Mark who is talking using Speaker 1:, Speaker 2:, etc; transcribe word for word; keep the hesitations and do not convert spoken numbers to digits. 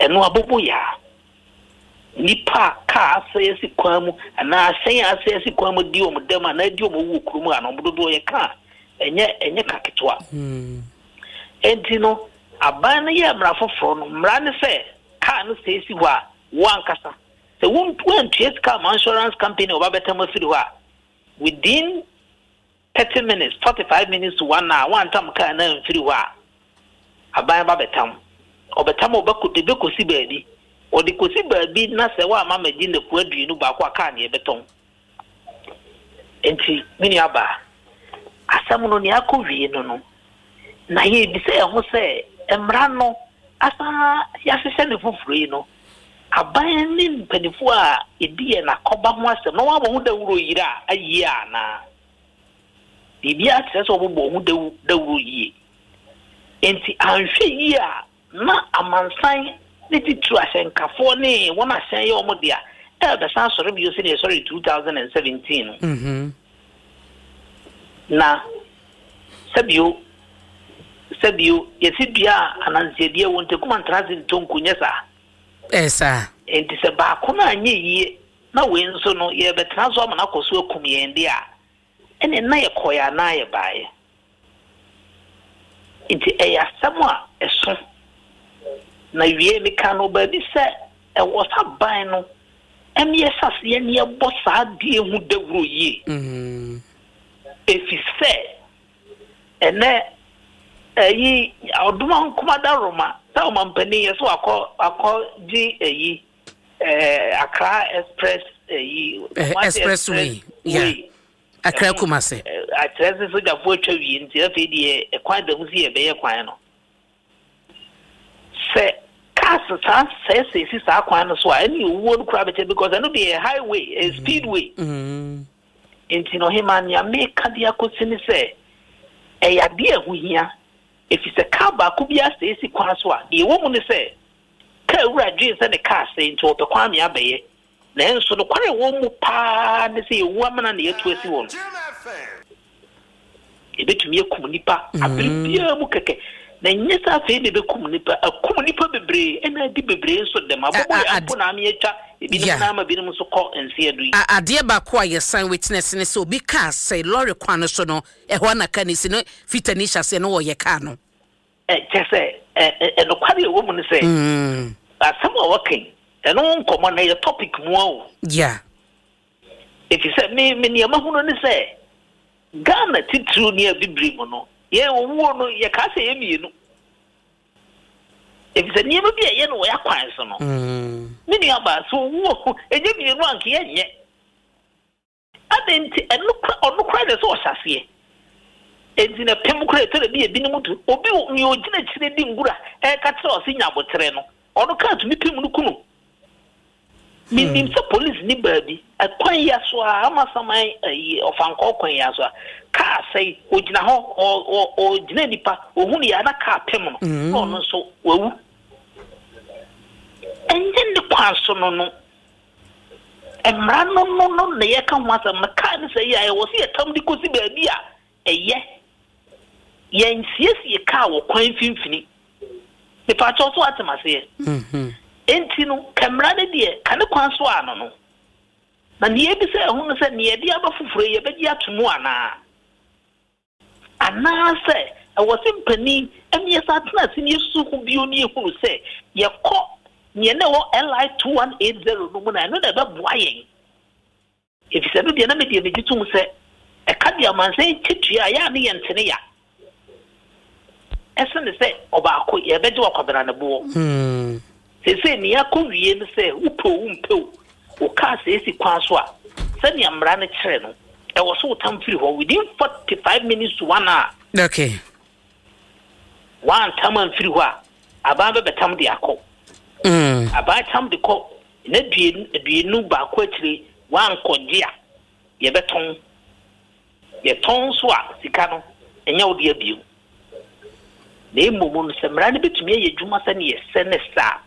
Speaker 1: Ɛno aboboyaa nipa a kaa asɛe asi kwan mu anaa ahyɛn a asɛe asi kwan mu di wɔn dɛm anaa di wɔn wu kurom a, na wɔn dodoɔ yɛ kaa ɛnyɛ ɛnyɛ ka ketewa. Enti no, aban no yɛ mmara foforɔ no, mmara ne sɛ kaa no sɛ esi hɔ a, wo ankasa sɛ woantua sika ama insurance company a ɔba bɛtam afiri hɔ a, within thirty minutes, forty five minutes to one hour, wantam kaa no amfiri hɔ a, aban ba bɛtam. Ɔbɛtam a, ɔbɛkɔ de bɛkɔsi baabi, ɔde kɔsi baabi na sɛ woama magye nnafua aduonu baako a, kaa ne yɛbɛtɔn. Nti me nua baa, asɛm no nea akɔ wie no no na yɛbisa yɛn ho sɛ mmara no asan yɛahyehyɛ ne foforɔ yi no, aban ne mpanimfoɔ a ɛdi yɛn akɔba ho asɛm na wɔabɔ ho dawuro yere a ayie anaa biribiara kyerɛ sɛ wɔbɛbɔ ho dawu dawuro yie. Nti anhwɛ yie a, na amansan ne titiri ahyɛnkafoɔ ne wɔn ahyɛn yɛ wɔn dea ɛbɛsan asɔre bio sɛdeɛ ɛsɔre two thousand and seventeen no.
Speaker 2: Mhm.
Speaker 1: Na sɛbio sɛbio, yɛsi dua a ananseɛ wɔ ntakuma ntena ase ntonko nyɛ saa.
Speaker 2: Ɛyɛ saa.
Speaker 1: Nti sɛ baako no anyɛ yie na wei nso no yɛbɛtena so ama no akɔ so akum yɛn deɛ a, ɛne na yɛkɔɛ anaa yɛbaeɛ. Nti ɛyɛ asɛm a ɛso na wie meka no baabi sɛ ɛwɔ sa ban no ɛne yɛhyɛ ne yɛbɔ saa deɛ ho dawuro yie.
Speaker 2: Mhm.
Speaker 1: Ɛfi sɛ ɛnɛ ɛyi ɔdoma nkomada roma sɛ ɔmampanin yɛ sɛ wakɔ akɔ gye ɛyi ɛɛ Accra Express ɛyi
Speaker 2: Eh,
Speaker 1: Kumasi.
Speaker 2: Expressway, yeah. Accra Kumase.
Speaker 1: Ɛ, akyerɛ sɛ sogyafoɔ atwa wie, nti afei deɛ ɛkwan da mu si yɛbɛyɛ kwan no sɛ cars saa sɛɛsɛɛ si saa kwan no so a, ɛne owuo no koraa bɛkyɛ, because ɛno deɛ yɛ highway, ɛyɛ speedway.
Speaker 2: Mhm.
Speaker 1: Nti no, ɔhema, nea meka de akɔsi ne sɛ ɛyɛ adeɛ a ɛho hia, ɛfiri sɛ kaa baako bi asɛe si kwan so a, deɛ ɛwɔ mu ne sɛ kaa wura dwen sɛ ne kaa sɛe nti ɔpɛ kwan me abɛyɛ, nanso nokware a ɛwɔ mu paa ne sɛ yɛwu amena na yɛatu asi hɔ no, ɛbɛtumi akum nipa abere biara mu kɛkɛ. Na nyɛ sɛ afei na ɛbɛkum nipa, akum nipa bebree ɛna adi bebree nso dɛm abɔbɔ
Speaker 2: A-
Speaker 1: yɛ
Speaker 2: a-
Speaker 1: mpo na ame atwa ebinom
Speaker 2: Yeah.
Speaker 1: na ama binom nso kɔ nseɛ do yi.
Speaker 2: A- adeɛ baako a yɛsan witness ne sɛ obi kaa sɛ lɔre kwan no so no, ɛhɔ na ka ne si no fitani hyɛ aseɛ no wɔyɛ kaa no.
Speaker 1: Ɛ, kyɛ sɛ ɛ, ɛ, ɛnokware a ɛwɔ mu no sɛ
Speaker 2: Mm.
Speaker 1: asɛm a wɔka yi, ɛno ho nkɔmmɔ no ɛyɛ topic mu a o.
Speaker 2: Yeah.
Speaker 1: Ɛfiri sɛ me me nneɛma hunu ne sɛ Ghana titiriw ne abibire mu no, yɛn owuo no yɛkaa sɛ yɛ mmienu, ɛfiri sɛ nneɛma bi a ɛyɛ no wɔ yɛ akwan so no,
Speaker 2: Mm.
Speaker 1: me nua baa, sɛ owuo ɛnyɛ mmienu anka yɛnyɛ ade. Nti ɛno kora, ɔno kora deɛ sɛ ɔhyɛ aseɛ enti na pem kora ɛtɔ da bi ebinom tu obi wɔ nea ogyina akyire di ngura ɛka kyerɛ ɔse nya abotrɛ no, ɔno kaa tumi pem no kunu. Menim sɛ police ni baabi ɛkwan yi aso a ama saman ɛyi ɔfankɔɔ kwan yi aso a, kaa sɛe ogyina hɔ, ɔ- ɔ- ɔgyina nipa ohun yɛ ana kaa pem no na ɔno nso wawu. Ɛnyɛ ne kwan so no no mmara no no no na yɛka ho asɛm no. Kaa no sɛ yi a ɛwɔ sɛ yɛtam de kɔsi baabi a ɛyɛ yɛnsiesie kaa wɔ kwan mfimfini. Mepaakyɛw, so atem aseɛ?
Speaker 2: Mhm.
Speaker 1: Enti no, ka mmara no deɛ ka ne kwan so ano no, na nea ebisa ɛho no sɛ nea yɛde aba foforɔ yi, yɛbɛgye ato mu anaa anaasɛ ɛwɔ sɛ mpanin ɛne yɛsa atena ase ne yɛsusu ho bio ne yɛhunu sɛ yɛkɔ nea na ɛwɔ L I two one eight zero no mu na ɛno na ɛbɛboa yɛn, efisɛ no deɛ na medeɛ megye tom sɛ ɛka deɛ amansan kyetua a yɛ a ne yɛ ntene ya ɛsene sɛ ɔbaako yɛbɛgye wakwabena ne boɔ.
Speaker 2: Mm.
Speaker 1: Seesei nea akɔ wie no sɛ wopɛ o, wompɛ o, wo kaa sɛ esi kwan so a, sɛnea mmara no kyerɛ no, ɛwɔ so wotam firi hɔ within forty five minutes to one hour.
Speaker 2: Okay.
Speaker 1: Wantam amfiri hɔ a, aban bɛbɛtam de akɔ.
Speaker 2: Mm.
Speaker 1: Aban tam de kɔ na aduonu aduonu baako akyire wankɔgye a, yɛbɛtɔn. Yɛtɔn nso a, sika no ɛnyɛ wo deɛ bio. Na mmom no, sɛ mmara no bɛtumi ayɛ adwuma sɛneɛ ɛsɛ ne saa.